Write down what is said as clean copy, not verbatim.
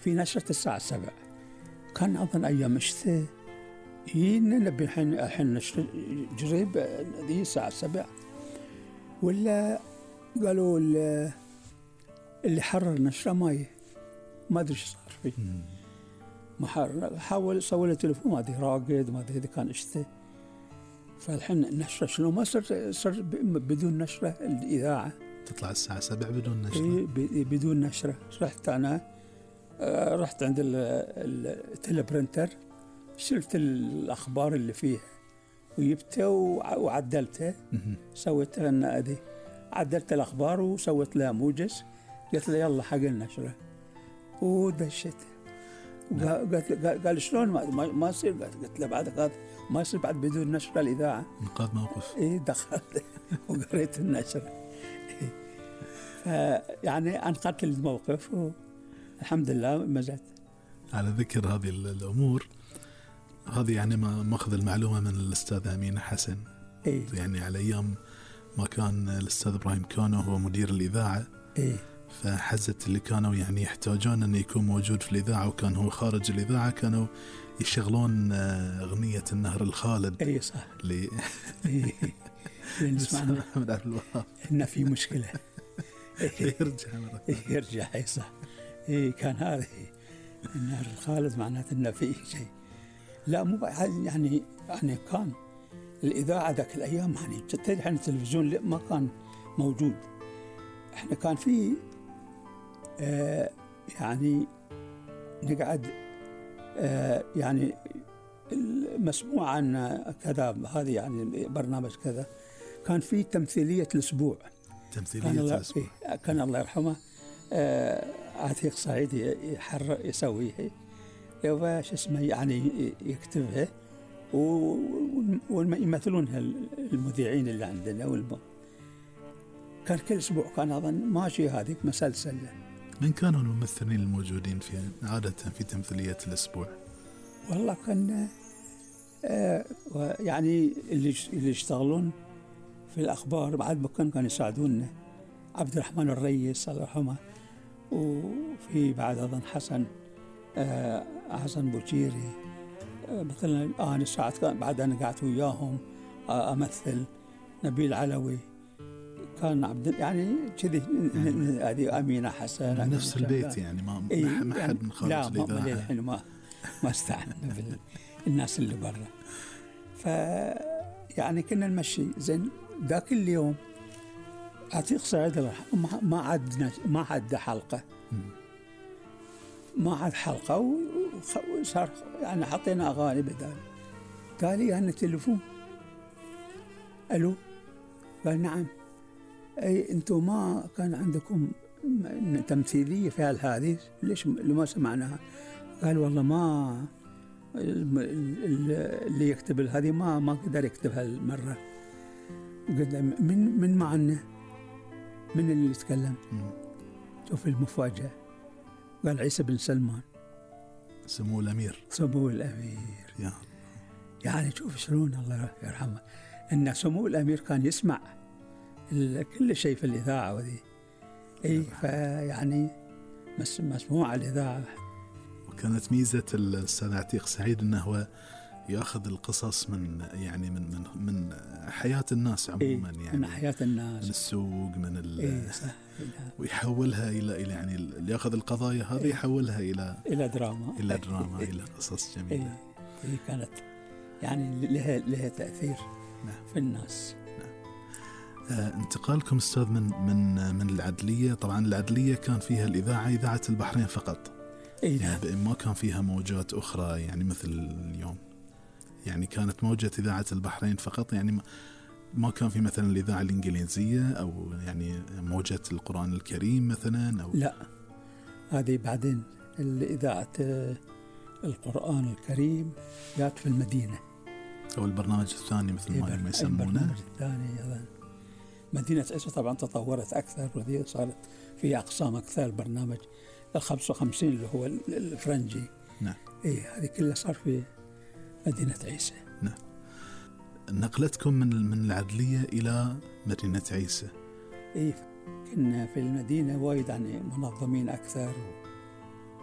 في نشرة الساعة 7، كان أظن أيام الشتاء نبي الحين نشر جريب هذه الساعة 7، ولا قالوا اللي حرر نشرة ما أدري إيش صار فيه. حاول سوي له تليفون، ما أدري راقد، ما أدري إذا كان شتاء. فالحين النشرة شنو ما صار بدون نشرة الإذاعة تطلع الساعة 7 بدون نشرة. بدون نشرة. رحت أنا رحت عند التلبرنتر، شلت الأخبار اللي فيها وجبته وعدلته، سويت لنا أدي عدلت الأخبار وسويت لها موجز، قلت له يلا حق النشرة ودشت. قال شلون ما يصير؟ قلت له بعد هذا ما يصير بعد بدون نشرة الإذاعة. انقاذ موقف. دخلت وقريت النشرة. يعني أنقذت الموقف والحمد لله مزت. على ذكر هذه الأمور هذه، يعني ما ماخذ المعلومة من الأستاذ أمين حسن. يعني على أيام ما كان الأستاذ إبراهيم كانوا هو مدير الإذاعة، فحزت اللي كانوا يعني يحتاجون أن يكون موجود في الإذاعة وكان هو خارج الإذاعة، كانوا يشغلون أغنية النهر الخالد. صح. نسمعنا من عبد الوهاب إن في مشكلة. يرجع صح. كان هذا النهر الخالد معناته إن في شيء. لا مو يعني كان الإذاعة ذاك الأيام، يعني تتجه التلفزيون ما كان موجود. إحنا كان في يعني نقعد يعني مسموع عن كذا، هذه يعني برنامج كذا، كان في تمثيلية الأسبوع. كان الله يرحمه عتيق صعيد يسويه وش اسمه، يعني يكتبها ويمثلونها المذيعين اللي عندنا كان كل أسبوع كان أظن ماشي هذه مسلسل. من كانوا الممثلين الموجودين في عادة في تمثيلية الأسبوع؟ والله كان يعني اللي يشتغلون في الأخبار بعد ما كانوا يساعدوننا، عبد الرحمن الرئيس الله يرحمه، وفي بعد أظن حسن بوشيري. مثلا الآن ساعات كان بعد أنا قعدت وياهم أمثل، نبيل علوي كان عبد يعني كذي، هذه أمينة حسن من نفس البيت يعني ما حد من خارج الإذاعة. لا الحين ما استعنا بالناس اللي برا. يعني كنا نمشي زين. ذاك اليوم عتيق صعيد ما عد حلقة، ما عاد حلقة، وصار يعني حطينا أغاني بدال. قال لي أنا تليفون، ألو، قال نعم، أي أنتم ما كان عندكم تمثيلية في هذه ليش ما سمعناها؟ قال والله ما اللي يكتب هذه ما قدر يكتبها المرة. قلت من معنا، من اللي يتكلم؟ شوف المفاجأة، قال عيسى بن سلمان سمو الأمير. يعني شوف شلون الله يرحمه، إن سمو الأمير كان يسمع كل شيء في الإذاعة وذي. فيعني مسموع الإذاعة. وكانت ميزة الأستاذ عتيق سعيد أنه هو يأخذ القصص من حياة الناس عموما، يعني من حياة الناس، من السوق، من ويحولها إلى يعني اللي يأخذ القضايا هذه يحولها إلى دراما، إلى قصص جميلة. كانت يعني لها تأثير في الناس. انتقالكم أستاذ من العدلية، طبعا العدلية كان فيها إذاعة البحرين فقط. يعني ما كان فيها موجات أخرى يعني مثل اليوم، يعني كانت موجة إذاعة البحرين فقط، يعني ما كان في مثلا الإذاعة الإنجليزية أو يعني موجة القرآن الكريم مثلا أو لا، هذه بعدين الإذاعة القرآن الكريم جات في المدينة، أو البرنامج الثاني مثل ما يسمونه. البرنامج الثاني أيضا مدينة عيسى طبعا تطورت أكثر، وهي صارت فيها أقسام أكثر. البرنامج 55 اللي هو الفرنجي، نعم، هذه كلها صار في مدينة عيسى. نعم. نقلتكم من العدلية إلى مدينة عيسى. كنا في المدينة وايد يعني منظمين أكثر،